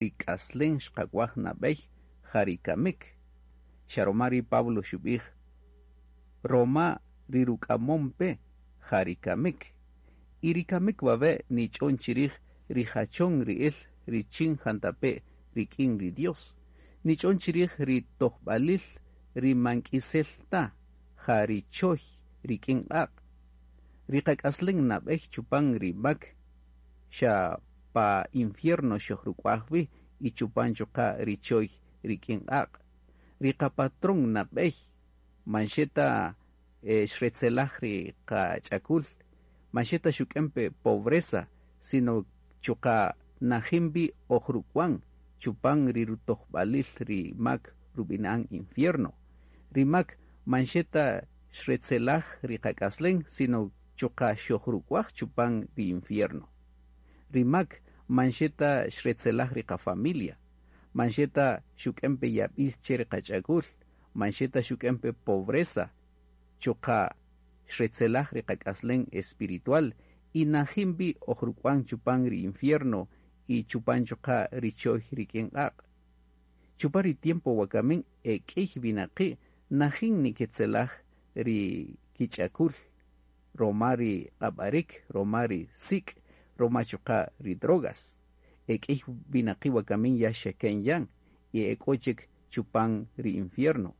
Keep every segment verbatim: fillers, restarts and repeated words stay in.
Ri k'aslen xqak'uaj nabey ja ri kamik. Xa roma ri Pablo xubij, roma ri ruk'amon-pe ja ri kamik. Y ri kamik wawe' nich'on chirij ri jachon ri'il richin jantape' rik'in ri Dios. Nich'on chirij ri tojbalil ri man k'isel ta, ja ri choy rik'in q'aq'. Ri qak'aslen nabey chupan ri mak xa pa infierno xojruk'uaj-wi y chupan chuqa' ri choy rik'in q'aq'. Ri qapatrón nabey man xe ta xretzelaj ri qach'akul, man xe ta xuk'en-pe pobreza, sino chuqa' najin-wi oj ruk'uan chupan ri rutojbalil ri mak rubini'an infierno. Ri mak man xe ta xretzelaj ri qak'aslen, sino chuqa' xojruk'uaj chupan ri infierno. Ri mak man xe ta xretzelaj ri qa-familia, man xe ta xuk'en-pe yabil che ri qach'akul, man xe ta xuk'en-pe pobreza, chuqa' xretzelaj ri qak'aslen espiritual y najin-wi oj ruk'uan chupan ri infierno y chupan chuqa' ri choy rik'in q'aq'. Chupan ri tiempo wakamin e k'iy winaqi' najin niketzelaj ri kich'akul roma ri q'ab'arik, roma ri sik', roma chuqa' ri drogas. E k'iy winaqi' wakamin ya xeken yan y ek'o chik chupan ri infierno.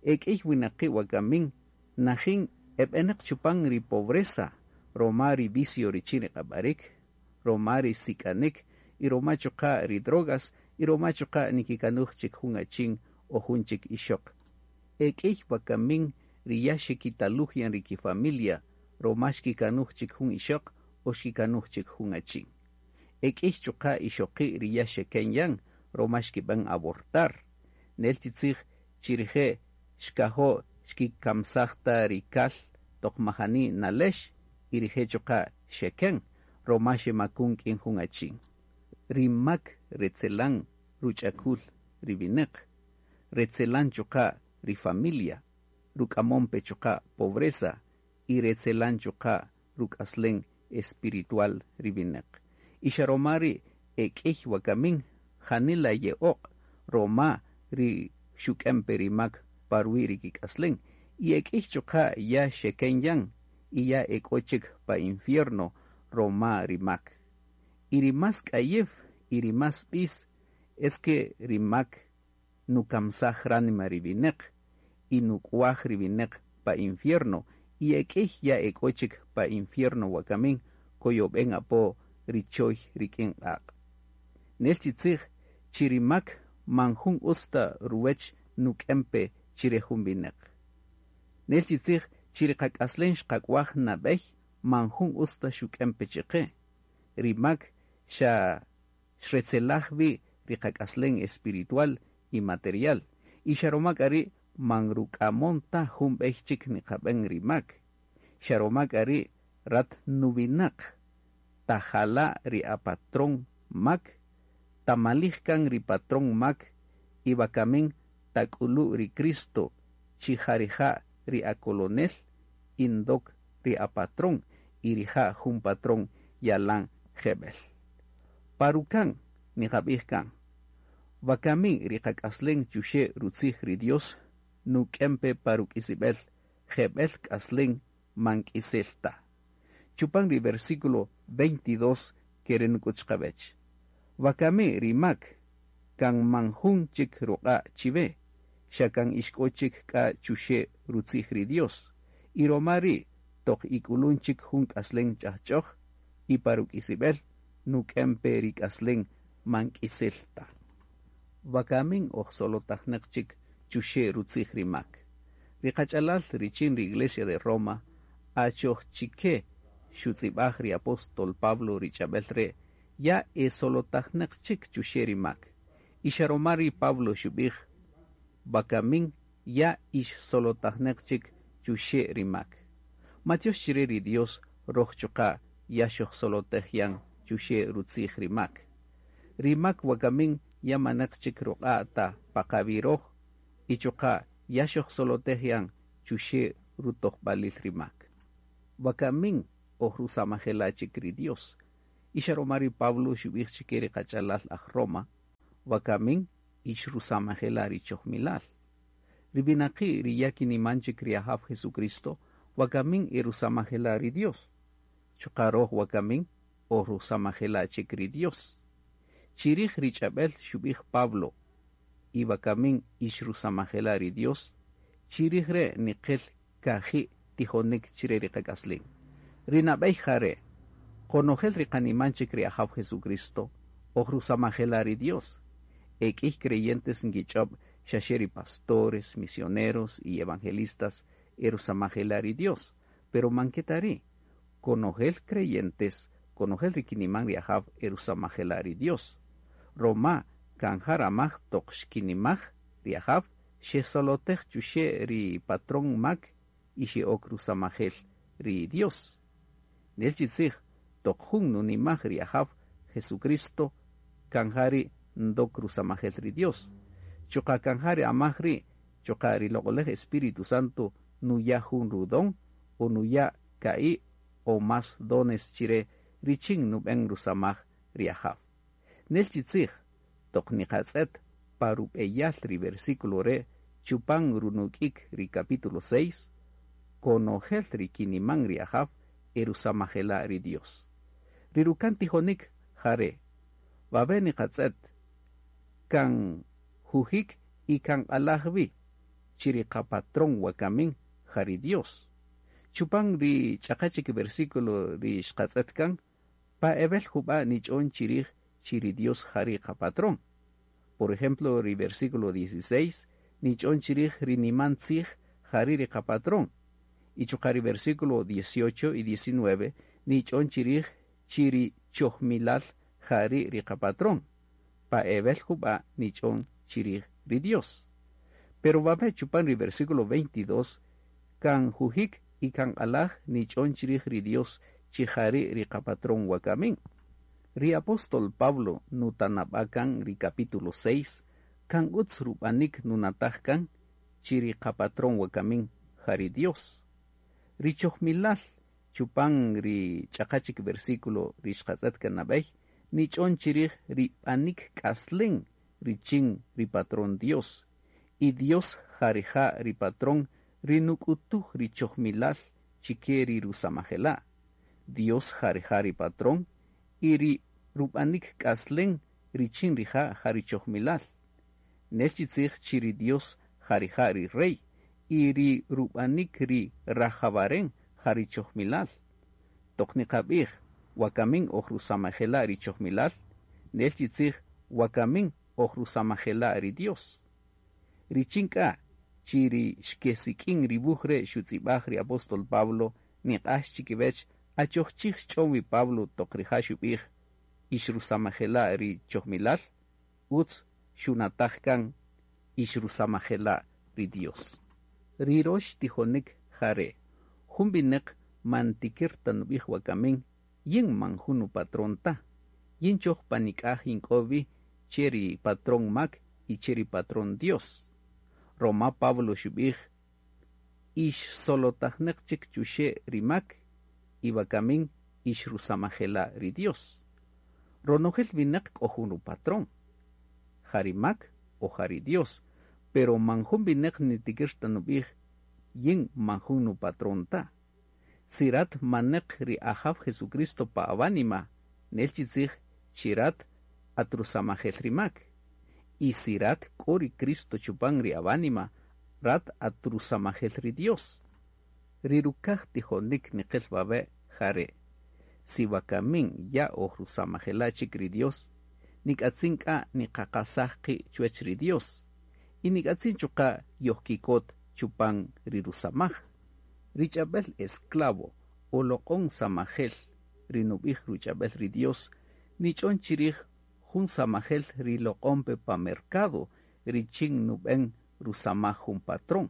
E k'iy winaqi' wakamin najin eb'eneq chupan ri pobreza roma ri vicio richin ri q'ab'arik, roma ri sik'anik y roma chuqa' ri drogas y roma chuqa' nikikanuj chik jun achin o jun chik ixoq. E k'iy wakamin ri ya xekitaluj yan ri ki-familia roma xkikanuj chik jun ixoq o xkikanuj chik jun achin. E k'iy chuqa' ixoqi' ri ya xeken yan roma xkib'en abortar. Nel chi tzij chi rije' xkajo' xkikamsaj ta ri kal toq majani nalex y rije' chuqa' xeken roma xemakun k'in jun achin. Ri mak retzelan ruch'akul ri wineq, retzelan chuqa' ri familia, ruk'amon pe chuqa' pobreza y retzelan chuqa' ruk'aslen espiritual ri wineq. Y xa roma ri' e k'iy wakamin janila ye'oq' roma ri xuk'en pe ri mak pa ruwi' ri kik'aslen. Y e k'iy chuqa' ya xeken yan y ya ek'o chik pa infierno roma ri mak. Y ri más k'ayew y ri más b'is es que ri mak nukamsaj ránima ri wineq y nuk'uaj ri wineq pa infierno y e k'iy ya ek'o chik pa infierno wakamin koyob'en apo ri choy rik'in q'aq'. Nel chi tzij chi ri mak man jun utz ta ruwech nuk'en pe chire jun wineq. Nel chi tzij chi ri qak'aslen xqak'uaj nab'ey man jun utz ta xuk'en pe chiqe. Ri mak xa xretzelaj wi ri qak'aslen espiritual y material. Y xa roma k'a ri' man ruk'amon ta jun b'ey chik niqab'en ri mak. Xa roma k'a ri' rat nuwinaq tajala' ri apatrón mak, tamalij kan ri patrón mak y wakamin tak'ulu' ri Cristo chi ja rija' ri akolonel y ndok ri apatrón y rija' jun patrón yalan jeb'el. Parukan niqab'ij kan, wakamin ri qak'aslen chuxe' rutzij ri Dios nuk'en pe pa ruk'isib'el jeb'el k'aslen man k'isel ta. Chupan ri versículo veintidós kere' nuk'ut chiqawech. Wakami ri mak kan man jun chik ruq'a' chiwe, xa kan ixk'o chik k'a chuxe' rutzij ri Dios. Y roma ri' toq ik'ulun chik jun k'aslen ch'ajch'oj y pa ruk'isib'el nuk'en pe ri k'aslen man k'isel ta. Wakamin oj solotajneq chik chuxe' rutzij ri mak. Ri qach'alal richin ri Iglesia de Roma achoj chike xutz'ib'aj ri apóstol Pablo ri ch'ab'el re' ya e solotajneq chik chuxe' ri mak. Y xa roma ri Pablo xub'ij, wakamin ya ix solotajneq chik chuxe' ri mak. Matiox chire ri Dios roj chuqa' ya xojsolotej yan chuxe' rutzij ri mak. Ri mak wakamin ya maneq chik ruq'a' ta pa qawi' roj y chuqa' ya xojsolotej yan chuxe' rutojb'alil ri mak. Wakamin oj rusamajela' chik ri Dios. Y xa roma ri Pablo xub'ij chike ri qach'alal aj Roma, Wakamin ix rusamajela' ri chojmilal. Ri winaqi' ri ya kiniman chik ri Ajaw Jesucristo, wakamin e rusamajela' ri Dios. Chuqa' roj wakamin oj rusamajela' chik ri Dios. Chirij ri ch'ab'el xub'ij Pablo y wakamin ix rusamajela' ri Dios, chirij re' niqil kaji' tijonik chire ri qak'aslin. Ri nab'ey jare', qonojel ri qaniman chik ri Ajaw Jesucristo, oj rusamajela' ri Dios. Ek'iy creyentes nkich'ob' xaxe ri pastores, misioneros y evangelistas e rusamajela' ri Dios, pero man ke ta ri'. Konojel creyentes, konojel ri kiniman ri Ajaw e rusamajela' ri Dios. Roma kan ja ramaj toq xkinimaj ri Ajaw, xesolotej chuxe' ri patrón mak y xe'ok rusamajel ri Dios. Nel chi tzij, toq jun nunimaj ri Ajaw Jesucristo, kan ja ri' ndok rusamajel ri Dios. Chuqa' kan ja ri amaj ri', chuqa' ri loq'olej Espíritu Santo nuya' jun rudon o nuya' ka'i' o más dones chire richin nub'en rusamaj ri Ajaw. Nel chi tzij, toq niqatz'et pa rub'eyal ri versículo re' chupan runuk'ik ri capítulo seis, konojel ri kiniman ri Ajaw e rusamajela' ri Dios. Ri rukan tijonik jare', wawe' niqatz'et kan jujik y kan q'alaj wi chi ri qapatrón wakamin ja ri Dios. Chupan ri ch'aqa chik versículo ri xqatz'et kan, pa ebel jub'a' nich'on chirij chi ri Dios ja ri qapatrón. Por ejemplo, ri versículo dieciséis nich'on chirij ri niman tzij ja ri ri qapatrón. Y chuqa' ri versículo dieciocho y diecinueve nich'on chirij chi ri chojmilal ja ri ri qapatrón. Pa ebel jub'a' nich'on chirij ri Dios. Pero wawe' chupan ri versículo veintidós kan jujik y kan q'alaj nich'on chirij ri Dios chi ja ri ri qapatrón wakamin. Ri apóstol Pablo nutanab'a kan ri capítulo seis, kan utz rub'anik nunataj kan chi ri qapatrón wakamin ja ri Dios. Ri chojmilal chupan ri ch'aqa chik versículo ri xqatz'et kan nab'ey, nich'on chirij ri b'anik k'aslen richin ri patrón Dios. Y Dios ja rija' ri patrón ri nuk'utuj ri chojmilal chike ri rusamajela'. Dios ja rija' ri patrón y ri rub'anik k'aslen richin rija' ja ri chojmilal. Nel chi tzij chi ri Dios ja rija' ri rey y ri rub'anik ri rajawaren ja ri chojmilal. Toq niqab'ij wakamin oj rusamajela' ri chojmilal, nel chi tzij wakamin oj rusamajela' ri Dios. Richin k'a chi ri xkesik'in ri wuj re' xutz'ib'aj ri apóstol Pablo niq'ax chikiwech achoj chij xch'on wi Pablo toq rija' xub'ij ix rusamajela' ri chojmilal, utz xunataj kan ix rusamajela' ri Dios. Ri rox tijonik jare', jun winäq man tikir ta nub'ij wakamin, yin man jun nupatrón ta, yin choj panik'aj yink'o wi che ri patrón mak y che ri patrón Dios. Roma Pablo xub'ij ix solotajneq chik chuxe' ri mak y wakamin ix rusamajela' ri Dios. Ronojel winäq k'o jun rupatrón, ja ri mak o ja ri Dios, pero man jun winäq nitikir ta nub'ij yin man jun nupatrón ta. Si rat maneq ri Ajaw Jesucristo pa awánima, nel chi tzij chi rat atrusamajel ri mak. Y si rat k'o ri Cristo chupan ri awánima, rat atrusamajel ri Dios. Ri rukaj tijonik niqel wawe' jare'. Si wakamin ya oj rusamajela' chik ri Dios, nik'atzin k'a niqaqasaj qi' chuwech ri Dios. Y nik'atzin chuqa' yojkikot chupan ri rusamaj. Ri ch'ab'el esclavo o loq'on samajel ri nub'ij ruch'ab'el ri Dios, nich'on chirij jun samajel ri loq'on pe pa mercado richin nub'en rusamaj jun patrón.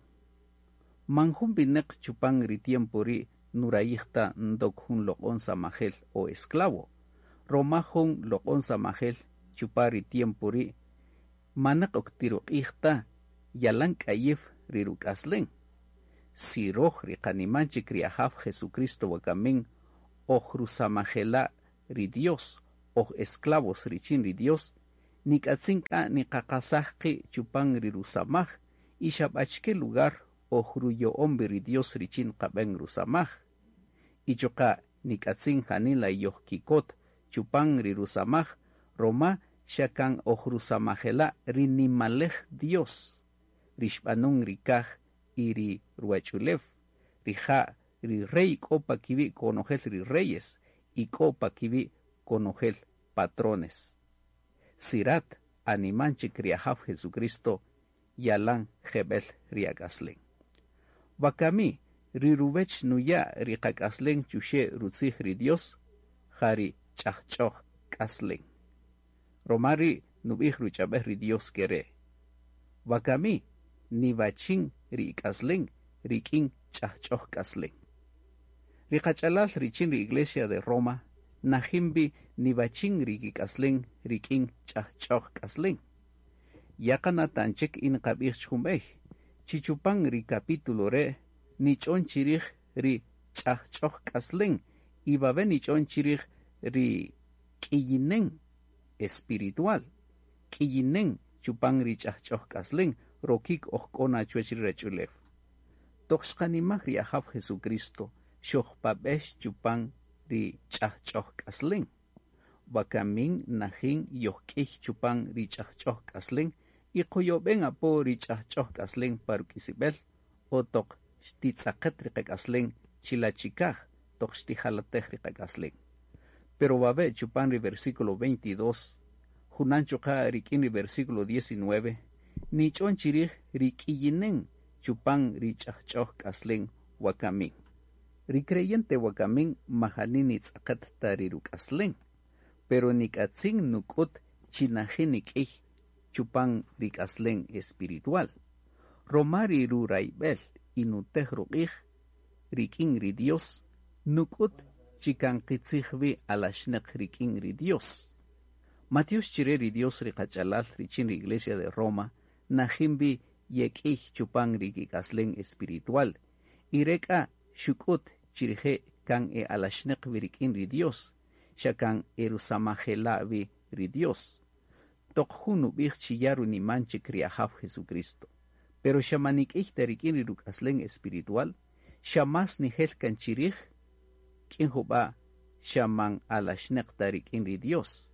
Man jun winäq chupan ri tiempo ri' nurayij ta ndok jun loq'on samajel o esclavo. Roma jun loq'on samajel chupa ri tiempo ri' manaq ok tiruq'ij ta yalan k'ayif ri ruk'aslen. Si roj ri qaniman chik ri Ajaw Jesucristo wakamin oj rusamajela' ri Dios, oj esclavos richin ri Dios, Nik'atzin k'a niqaqasaj qi' chupan ri rusamaj y xa b'achike lugar oj ruyo'on wi ri Dios richin qab'en rusamaj. Y chuqa' nik'atzin janila yojkikot chupan ri rusamaj roma xa kan oj rusamajela' ri nimalej Dios, ri xb'anun ri kaj y ri ruwach'ulew, rija' ri rey k'o pa kiwi' konojel ri reyes y k'o pa kiwi' konojel patrones. Si rat animan chik ri Ajaw Jesucristo, yalan jeb'el ri ak'aslen. Wakami, ri ruwech nuya' ri qak'aslen chuxe' rutzij ri Dios, ja ri ch'ajch'oj k'aslen. Roma ri' nub'ij ruch'ab'ej ri Dios kere'. Wakami, niwachin ri ik'aslen rik'in ch'ajch'oj k'aslen. Ri qach'alal richin ri Iglesia de Roma, najin wi niwachin ri kik'aslen rik'in ch'ajch'oj k'aslen. Ya qanatan chik y niqab'ij jun b'ey, chi chupan ri capítulo re' nich'on chirij ri ch'ajch'oj k'aslen y wawe' nich'on chirij ri k'iyinen espiritual, k'iyinen chupan ri ch'ajch'oj k'aslen rokik oj k'o na chuwech ri ruwach'ulew. Toq xqanimaj ri Ajaw Jesucristo xojpab'ex chupan ri ch'ajch'oj k'aslen. Wakamin najin yojk'iy chupan ri ch'ajch'oj k'aslen y qoyob'en apo ri ch'ajch'oj k'aslen pa ruk'isib'el o toq xtitz'aqet ri qak'aslen chila' chikaj toq xtijalatej ri qak'aslen. Pero wawe' chupan ri versículo veintidós, junan chuqa' rik'in ri versículo diecinueve, nich'on chirij ri k'iyinen chupan ri ch'ajch'oj k'aslen wakamin. Ri creyente wakamin majani nitz'aqet ta ri ruk'aslen, pero nik'atzin nuk'ut chi najin nik'iy chupan ri k'aslen espiritual. Roma ri rurayb'el y nutej ruq'ij rik'in ri Dios, nuk'ut chi kan qitzij wi alaxneq rik'in ri Dios. Matiox chire ri Dios ri qach'alal richin ri Iglesia de Roma, najin wi yek'iy chupan ri kik'aslen espiritual, y re k'a xuk'ut chi rije' kan e alaxneq wi rik'in ri Dios, xa kan e rusamajela' wi ri Dios. Toq jun nub'ij chi ya runiman chik ri Ajaw Jesucristo, pero xa man nik'iy ta rik'in ri ruk'aslen espiritual, xa más nijel kan chirij, k'in jub'a' xa man alaxneq ta rik'in ri Dios.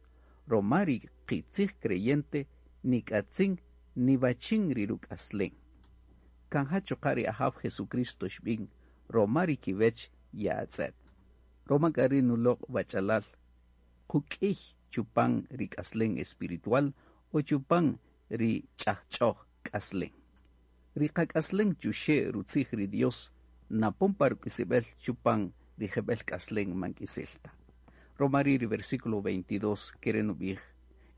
Roma ri qitzij creyente nik'atzin niwachin ri ruk'aslen. Kan ja chuqa' ri Ajaw Jesucristo xb'in, roma ri kiwech ya'atz'et. Roma k'a ri nuloq' wach'alal, quk'iy chupan ri k'aslen espiritual o chupan ri ch'ajch'oj k'aslen. Ri qak'aslen chuxe' rutzij ri Dios napon pa ruk'isib'el chupan ri jeb'el k'aslen man k'isel ta. Roma ri ri versículo veintidós kere nub'ij,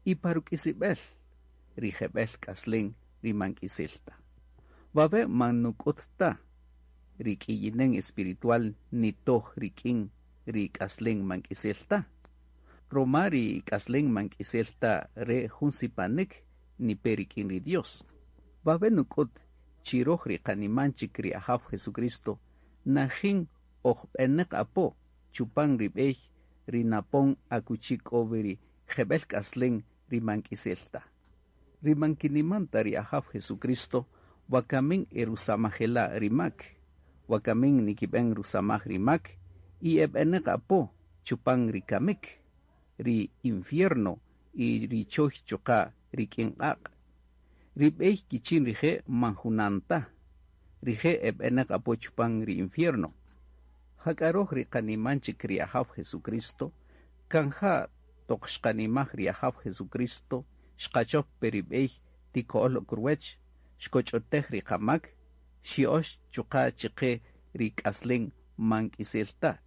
y pa ruk'isib'el ri jeb'el k'aslen ri man k'isel ta. Wawe' man nuk'ut ta ri k'iyinen espiritual nitoj rik'in ri k'aslen man k'isel ta. Roma ri k'aslen man k'isel ta re jun sipanik nipe rik'in ri Dios. Wawe' nuk'ut chi roj ri qaniman chik ri Ajaw Jesucristo najin oj b'eneq apo chupan ri b'ey ri napon akuchi k'o wi ri jeb'el k'aslen ri man k'isel ta. Ri man kiniman ta ri Ajaw Jesucristo wakamin e rusamajela' ri mak, wakamin nikib'en rusamaj ri mak y e b'eneq apo chupan ri kamik, ri infierno y ri choy chuqa' rik'in q'aq'. Ri b'ey kichin rije' man junan ta, rije' e b'eneq apo chupan ri infierno. Jak'a roj ri qaniman chik ri Ajaw Jesucristo, kan ja toq xqanimaj ri Ajaw Jesucristo, xqachop pe ri b'ey tiko'ol ok ruwech, xkoch'otej ri qamak, xyo'ox chuqa' chiqe ri k'aslen man k'isel ta.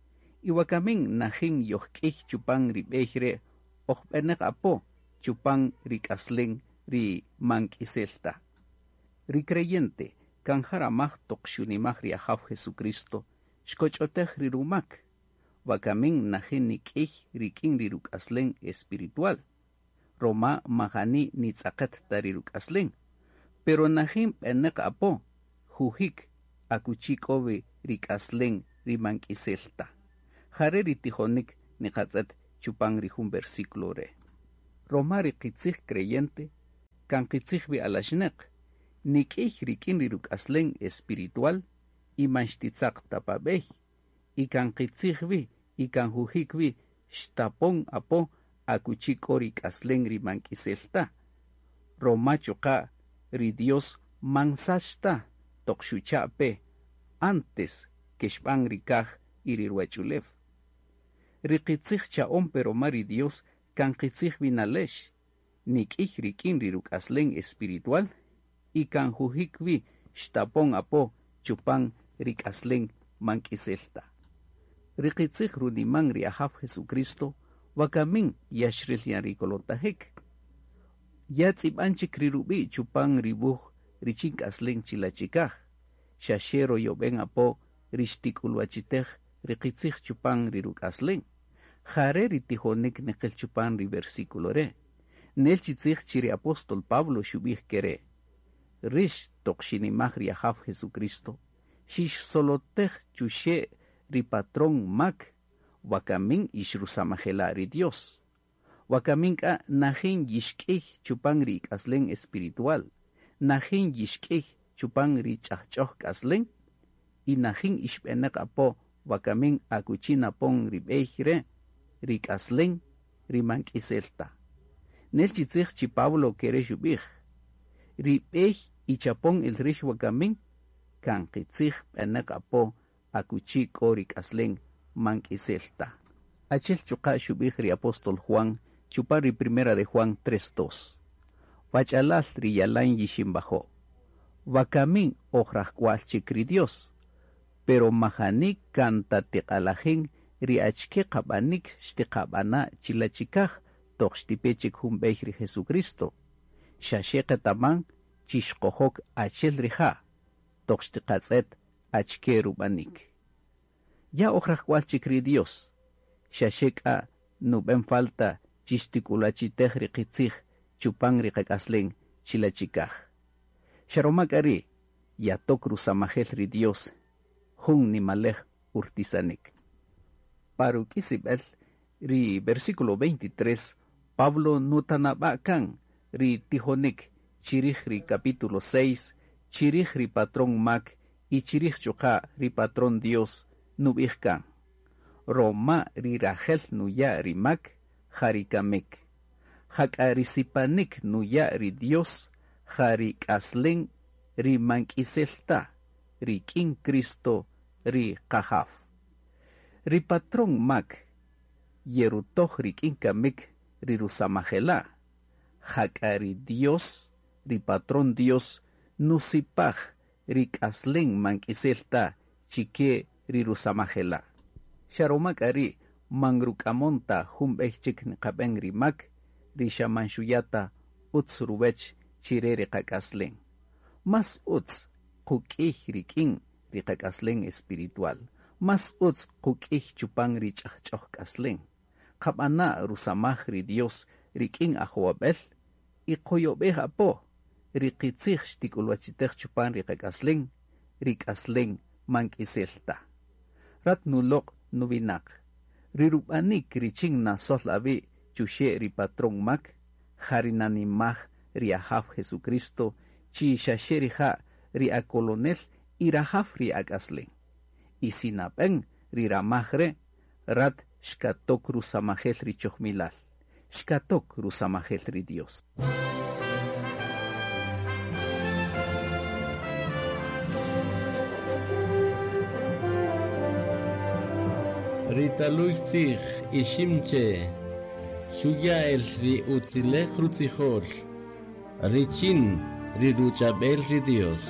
Y wakamin najin yojk'iy chupan ri b'ey re' oj b'eneq apo chupan ri k'aslen ri man k'isel ta. Ri creyente kan jaramaj toq xunimaj ri Ajaw Jesucristo, xkoch'otej ri rumak, wakamin najin nik'iy rik'in ri ruk'aslen espiritual. Roma majani nitz'aqet ta ri ruk'aslen, pero najin b'eneq apo jujik akuchi k'o wi ri k'aslen ri man k'isel ta. Jare ri tijonik niqatz'et chupan ri jun versículo re'. Roma ri qitzij creyente kan qitzij wi alaxneq, nik'iy rik'in ri ruk'aslen espiritual y man xtitzaq ta pa b'ey, y kan qitzij wi y kan jujik wi xtapon apo akuchi k'o ri k'aslen ri man k'isel ta. Roma chuqa' ri Dios man sach ta toq xucha' pe antes ke xb'an ri kaj y ri ruwach'ulew. Ri qitzij cha'on pe roma ri Dios kan qitzij wi nalex, nik'iy rik'in ri ruk'aslen espiritual y kan jujik wi xtapon apo chupan ri k'aslen man k'isel ta. Ri qitzij runiman ri Ajaw Jesucristo wakamin ya xril yan ri kolotajik. Ya tz'ib'an chik ri rub'i' chupan ri wuj richin k'aslen chila chikaj, xa xe royob'en apo ri xtik'ulwachitej ri qitzij chupan ri ruk'aslen. Jare ri tijonik niqil chupan ri versículo re'. Nel chi tzij chi ri apóstol Pablo xub'ij kere': Rix toq xinimaj ri Ajaw Jesucristo, xixsolotej chuxe' ri patrón mak, wakamin ix rusamajela' ri Dios. Wakamin k'a najin yixk'iy chupan ri k'aslen espiritual, najin yixk'iy chupan ri ch'ajch'oj k'aslen, y najin ixb'eneq apo wakamin akuchi napon ri b'ey re', ri k'aslen ri man k'isel ta. Nel chi tzij chi Pablo kere' xub'ij: Ri b'ey ichapon el rix wakamin kan qitzij b'eneq apo akuchi k'o ri k'aslen man k'isel ta. Achel chuqa' xub'ij ri apóstol Juan chupan ri primera de Juan tres dos. Wach'alal ri yalan yixinbajo'. Wakamin oj rajk'wal chik ri Dios, pero majani kan ta tiq'alajin ri achike qab'anik xtiqab'ana' chila chikaj toq xtipe chik jun b'ey ri Jesucristo. Xa xe qetaman chi xqojok achel rija' toq xtiqatz'et achike rub'anik. Ya oj rajk'wal chik ri Dios, xa xe k'a nub'en falta chi xtik'ulwachitej ri qitzij chupan ri qak'aslen chila chikaj. Xa roma k'a ri' yatok rusamajel ri Dios jun nimalej urtisanik. Pa ruk'isib'el ri versículo veintitrés, Pablo nutanab'a' kan ri tijonik chirij ri capítulo seis, chirij ri patrón mak y chirij chuqa' ri patrón Dios nub'ij kan. Roma ri rajel nuya' ri mak, ja ri kamik. Jak'a ri sipanik nuya' ri Dios, ja ri k'aslen ri man k'isel ta, rik'in Cristo ri Qajaw. Ri patrón mak yerutoj rik'in kamik ri rusamajela'. Jak'a ri Dios, ri patrón Dios, nusipaj ri k'aslen man k'isel ta chike ri rusamajela'. Xa roma k'a ri' man ruk'amon ta jun b'ey chik niqab'en ri mak, ri xa man xuya' ta utz ruwech chire ri qak'aslen. Más utz quk'iy rik'in ri qak'aslen espiritual. Más utz quk'iy chupan ri ch'ajch'oj k'aslen. Qab'ana' rusamaj ri Dios rik'in ajowab'el y qoyob'ej apo ri qitzij xtik'ulwachitej chupan ri qak'aslen, ri k'aslen man k'isel ta. Rat nuloq' nuwinaq, ri rub'anik richin nasol awi' chuxe' ri patrón mak, ja ri nanimaj ri Ajaw Jesucristo chi xaxe rija' ri akolonel y rajaw ri ak'aslen. Y si nab'en ri ramaj re', rat xkatok rusamajel ri chojmilal, xkatok rusamajel ri Dios. Ritaluy tzij iximche, xuya el ri utzilej rutzijol, richin ri ruchabel ri Dios.